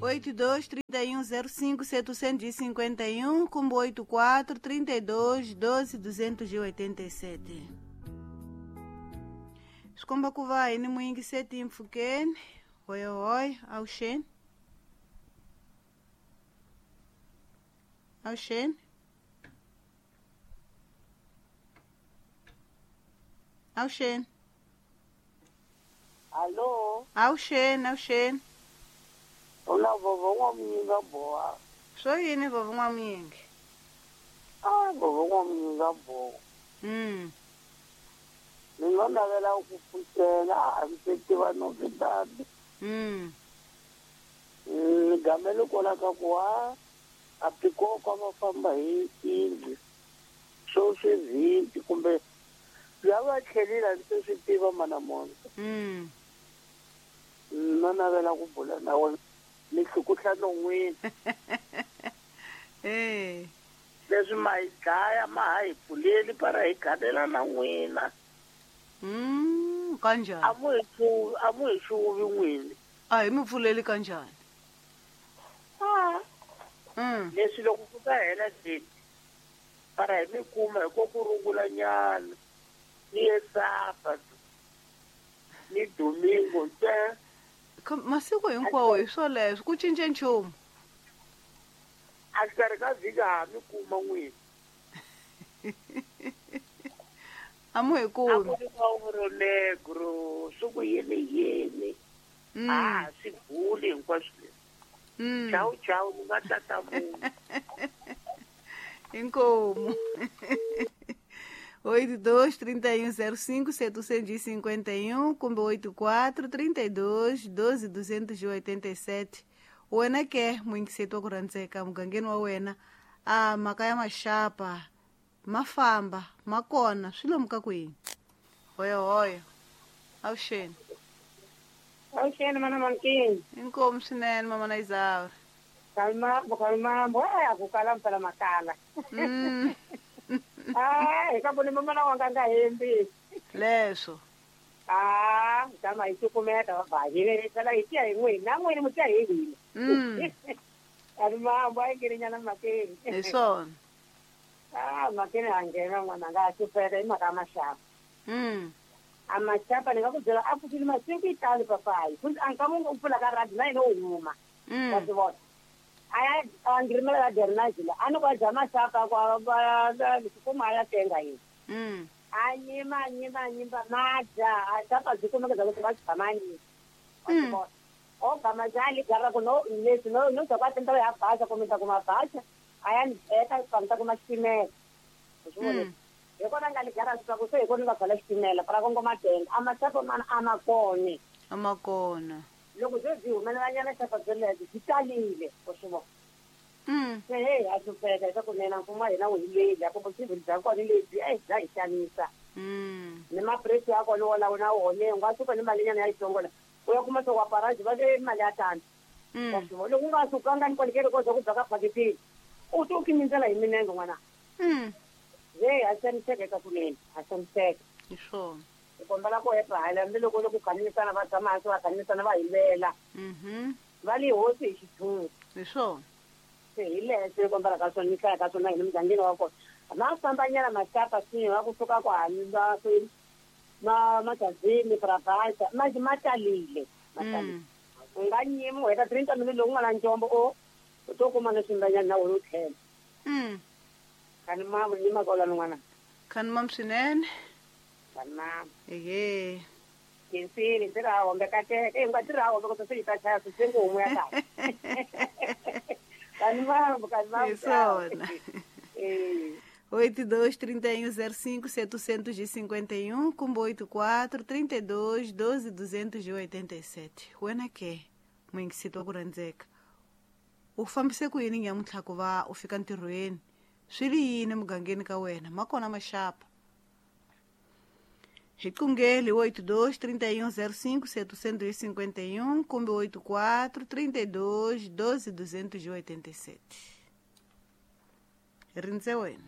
82 31 05 751 kumbe 84 32 12 287. Swi komba ku va hi ni muyingiseti mpfhukeni. Hoyohoyo, avuxeni. Avuxeni. Avuxeni. Allo, Avuxeni, avuxeni. una vovo n'wamunyinga boha. Swo yini vovo n'wamunyingi? Ah, vovo n'wamunyinga boha. Ni nga navela ku pfuxela a ndzi tiva no vitana. Ni gamele kona ka ku a a pikoko va famba hi tindlu swo swi 20 kumbe lava tlhelile a ndzi swi tiva mana mona. No navela ku bula na wena ni hlukuhla non'wini. Leswi ma hi dlaya ma ha hi pfuleli para hi ganela na n'wina. Kanjhani? A mu hi xuvi n'wini. A hi mi pfuleli kanjhani? Leswi loko ku ta hela date para hi mi kuma hi ko ku rungula nyana ni ye Sabato ni Domingo ntsena. Masiku hinkwawo hi swoleswo ku cince nchumu. A xikarhi ka vhiki ha mi kuma n'wini. A mu hi kumi. A ku ri ka oro negro swi ku yini yini. A swi buli hinkwaswo leswi. Chawu chawu ni nga tata munhu. Inkomu. 82 31 05 751 kumbe 84 32 12 287. Wena ke muyingiseti wa ku rhandzeka mugangeni wa wena a mhaka ya maxapa ma famba ma kona swi lomu ka kwini. Hoyohoyo, avuxeni. Avuxeni mana Mankini. Inkomu swinene mama na Isaura. Kalmambo kalmambo a ku kala mpela makala. Ah, hi ka vone mama na wanga nga hembi. Leswo. Ah, tama hi cukumeta va hi tsala hi tiya hi n'wini na n'wini mu tiya hi hina. Kalmambo a yi ngirinyana makeni. Hi swona. Ah, makeni a nghena n'wana nga hlupheka hi mhaka ya maxapa. A maxapa ni nga ku byela a pfuxile masiku yi tali papayi. Futhi a nkama u pfula ka radio na yena u huma. Wa swi vona. Aya a ngirimela la dernajila a ni ku a dya maxapa ku kuma a ya tenga yini. A nyima nyima nyima ma dya a xapa byi kumeka bya ku va byi tshama nyima. Wa swi vona. O gama dya ligara ku no leswi no no bya ku a tenda ya baxa kumbe ta kuma baxa a ya ni teka ni ta kuma xitimela. U swi vona. Hi kona nga ligara swi ku se hi kona nga byala xitimela para kongoma tenga a maxapa mana a ma kona. A ma kona. Loko byo byi humelelanyana xapa byo lebyi byi talile u swi vona. Se hey a hlupheka leswaku nena mfumo wa hina wu hi leli a ku vusivili bya kona lebyi a bya hi xanisa. Ni mapuresi ya kona wolawo na wona u nga suka ni malinyana ya yitsongo la u ya kuma swo wa paraji va ve mali ya tano. Wa swi vona loko u nga sukanga ni kwalekele ko za ku bya ka phakitini u to kimindzela hi minenge n'wana. Hey a xaniseka eka kunene a xaniseka. Hi swona. Hi kombela ku hepa hala hambi loko ku khanimisana va tshama hansi va khanimisana va hi lwela. Va li hosi hi xithunzi. Hi swona. Se hi leswi hi kombela ka swona ni hlaya ka swona hina mugangeni wa kona. Ma fambanyana maxapa swinene va kusuka kwahani va ma magazini Prabhasa manje ma talile ma talile. U nga nyimi u heta 30 minutes loko u nga na ncombo u to kuma na swimbanyana na wena u tlhela. Khani mamu ni makola n'wana. Khani mamu swinene. Khani mamu. Ehe. Kinsini ndzi ra hombe kateka. Eh nga tirha hombe ku se yi ta chaya swi ngo homu ya kahle. Khani mamu, khani mamu. Hi swona. 82 31 05 751 kumbe 84 32 12 287. Wena ke muyingiseti wa ku rhandzeka u fambise ku yini nyamuntlha ku va u fika ntirhweni swi ri yini mugangeni ka wena ma kona maxapa? Hi qungeli 82 31 05 751 kumbe 84 32 12 287. Rindze wena.